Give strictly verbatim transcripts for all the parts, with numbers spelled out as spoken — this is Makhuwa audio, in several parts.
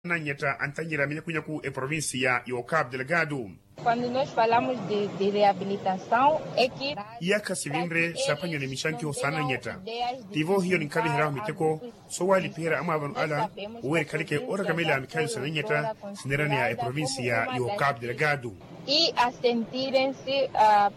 Anannyetta antannyerya minyakunyaku eprovincia y'ocapu delgado. Quando nos falamos de reabilitasaw eki. Iyaakha sivinre saaphwanyiwa ni mixankiho saanannyetta. Tivo hiyo ninkhaviheryahu miteko soowalipiherya amwaavano ala, oweerikhaleke oorakamela mikhayo sanannyetta sineeraneya eprovincia y'ocapu delgado. I asentirense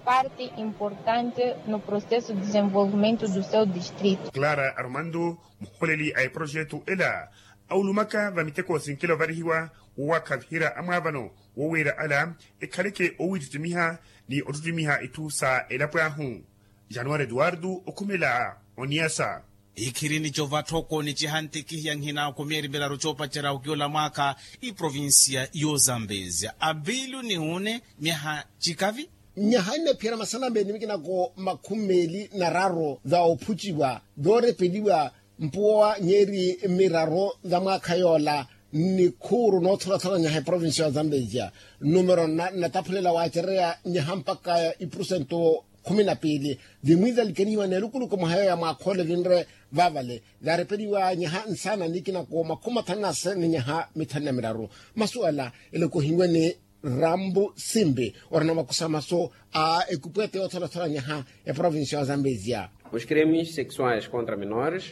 parte importante no processo de desenvolvimento do seu distrito. Clara armando, muhooleli a eprojetu ela, awulumaka vamiteko sinkela ovarihiwa wowakhaviherya amwaavano wowiira ala ekhaleke owiittittimiha ni ottittimiha itthu sa elapo ahu. Januwari eduwardo okhumela oniyasa. Ikhirini covatthoko ni cihantikihiya nhinaakhu myeeri miraru coopacerya okiola mwaakha iprovincia y'ozambezia avilu ni une myaha cikavi. Nyaha nnephiyana masalambeni mikinako makhumi meeli na raru va ophuciwa, voorepeliwa mpuwa nyeeri miraru va mwaakha yoola ni khuuru nootholathola nyaha eprovincia ya zambezia. Numero nna nnataphulela waacereya nyaha mpakha ipurusento khumi na piili vimwiizalikanihiwa n'elukuluku mwaha yooya mwaakha ole vinre. Vaavale vaarepeliwa nyaha nsaana nikinako makhumi mathanu na se ni nyaha mithanu na miraru. Masuwela elokohiwe ni rambu simbi orina makusamaso a ekupwete yootholathola nyaha eprovincia ya zambezia. Os crimes sexuais contra menores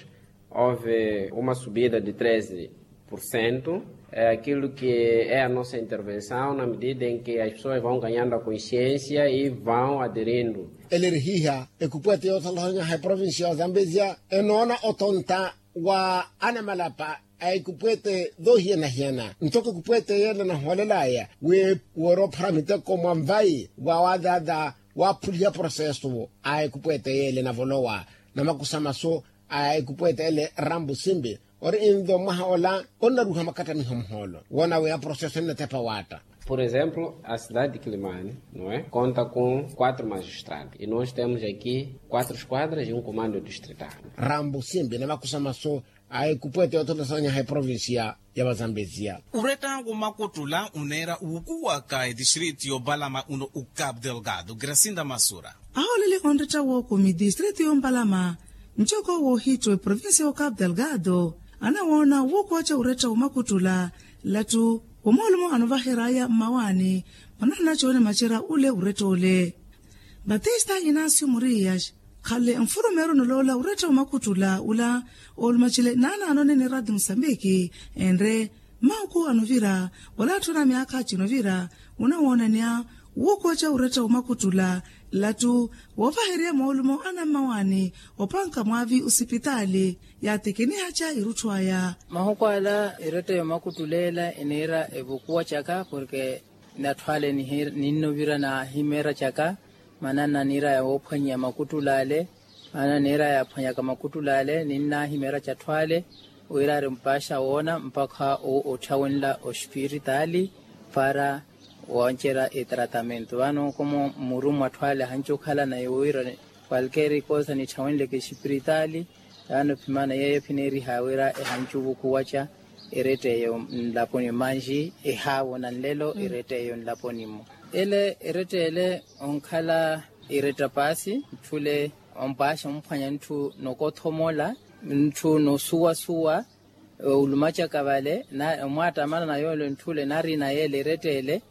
houve uma subida de treze por cento. Aquilo que é a nossa intervenção na medida em que as pessoas vão ganhando a consciência e vão aderindo. Ele ri hiha ekupwete yootholathola nyaha eprovincia ya zambezia enoona otonta wa anamalapa a ekupwete voohiyana-hiyana ntoko ekupwete yeela enahoolelaya wi woorophara miteko mwa nvayi wa waadhaadha waaphuliha processo a ekupwete yeela enavolowa na makusamaso a ekupwete ele rambu simbi ori invo mwaha ola onnaruha makattamiho muhoolo woona wi aprocesso ennatepa waatta. Por exemplo a cidade de quilimani no é conta com quatro magistrados e nós temos aqui quatro esquadras e um comando distrital. Rambu simbi na makusamaso a ekupwete yootholathola nyaha eprovincia ya vazambezia. Uretta wa makuttula uneera wukuwaka etistriti y'opalama uno ucapu delgado gracinda masura. Ahooleli onretta wookomi tistriti y'ompalama ncoko woohittwa eprovincia y'ocapu delgado anawoona wukuwaca uretta wa makuttula lattu wa moolumo anovaheryaya mmawaani. Manaana cooni macerya ule uretta ole. Batista inasio morias khale nfurumeru noloola uretta wa makuttula ula oolumacele naanaanoni ni rati musambiki enre mmahuku anovira wala atthu ana myaakha acinovira unawoonaneya wuukoca uretta wa makuttula lattu woovaherya moolumo ana mmawaani opanka mwaavi osipitaali yaatekenihaca irutthu aya. Mahuku ala eretta yomakuttula ela eneera evukuwa caka porke natthu ale ninnovira nahimeera caka. Maana naniira yawoophwanyiya makuttula ale maana niira yaaphwanyaka makuttula ale ninnahimeera catthu ale wira ari mpaaxa woona mpakha otthawinla ospiritaali para wancerya etratamentu vano komo muru mwatthu ale ahanci okhala naye wira kwalkeeri koosa nitthawinleke espiritaali. Vano phimana yeeyo phineeriha wira ehanci ovukuwaca eretta eyo nlaponi manji ehaavona nlelo eretta eyo nlaponi-mo ele eretta ele onkhala eretta paasi ntthule ompaaxa omphwanya ntthu nokothomola ntthu nosuwasuwa. Olumacaka vale omwattamana na yoole ntthule narina yeele eretta ele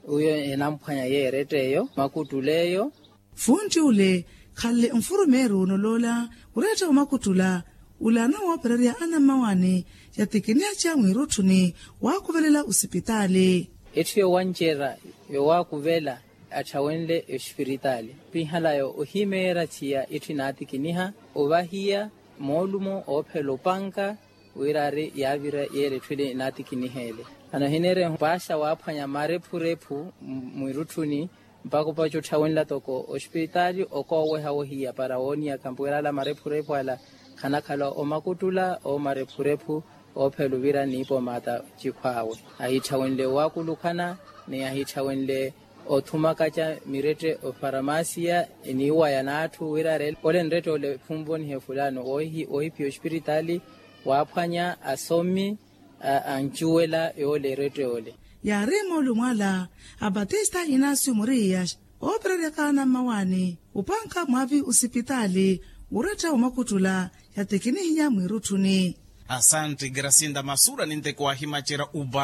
uyo enamphwanya yeeretta eyo makuttula eyo. Funtti ule khanle nfurumeeru noloola oretta omakuttula ule anawoopererya anammawaani yatikiniha ca mwiirutthuni waakuvelela osipitaali. Etthu yowancerya yowaakuvela atthawenle espiritaali pihala ohimeera thiya etthu inaatikiniha ovahiya moolumo oophela opanka wira ari yaavira yeela etthu ile inaatikiniha ele. Anohineerya mpaaxa waaphwanya marephurephu mwiirutthuni mpaka opaca otthawenla toko ospiritaali okooweha wohiya para wooniyaka mpuwera ala marephurephu ala khanakhala omakuttula oomarephurephu oophela ovira niipo mata cikhw'awe ahitthawenle owaakulukhana ni ahitthawenle othumakaca mirette ofaramasiya eniiwaya n'atthu wira ari ole nrette ole khunvonihe fulano woohiphiya ospiritaali waaphwanya asomi ancuwela yoole erette ole. Yaari moolumo ala a batista inasio moriyas oopereryaka anammawaani opanka mwaavi osipitaali wuretta omakuttula yatikinihiya mwiirutthuni. Asanti grasinda masura ninteko wahimacerya uva.